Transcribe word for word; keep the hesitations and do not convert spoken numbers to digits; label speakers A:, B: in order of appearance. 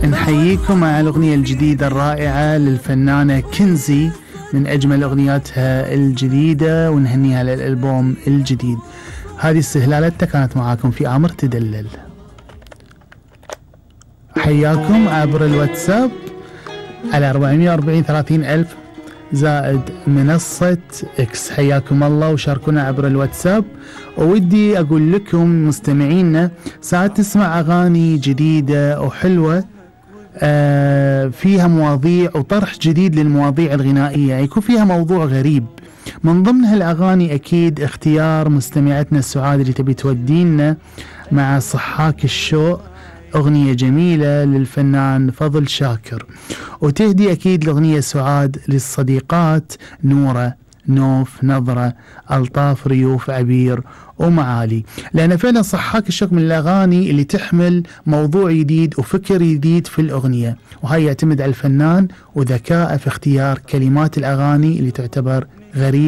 A: نحييكم مع الأغنية الجديدة الرائعة للفنانة كنزي من أجمل أغنياتها الجديدة، ونهنيها للألبوم الجديد. هذه استهلالتها كانت معاكم في آمر تدلل. حياكم عبر الواتساب على أربعمية وأربعين ثلاثين ألف زائد منصة إكس. حياكم الله وشاركونا عبر الواتساب. وودي أقول لكم مستمعينا ساعات تسمع أغاني جديدة وحلوة آه فيها مواضيع وطرح جديد للمواضيع الغنائية، يكون فيها موضوع غريب. من ضمن هالأغاني أكيد اختيار مستمعتنا سعاد اللي تبي تودينا مع صحاك الشوق، أغنية جميلة للفنان فضل شاكر. وتهدي أكيد الأغنية سعاد للصديقات نورة، نوف، نظرة، ألطاف، ريوف، عبير ومعالي، لأن فعلا صحاك الشوق من الأغاني اللي تحمل موضوع جديد وفكر جديد في الأغنية، وهي يعتمد على الفنان وذكاءه في اختيار كلمات الأغاني اللي تعتبر غريبة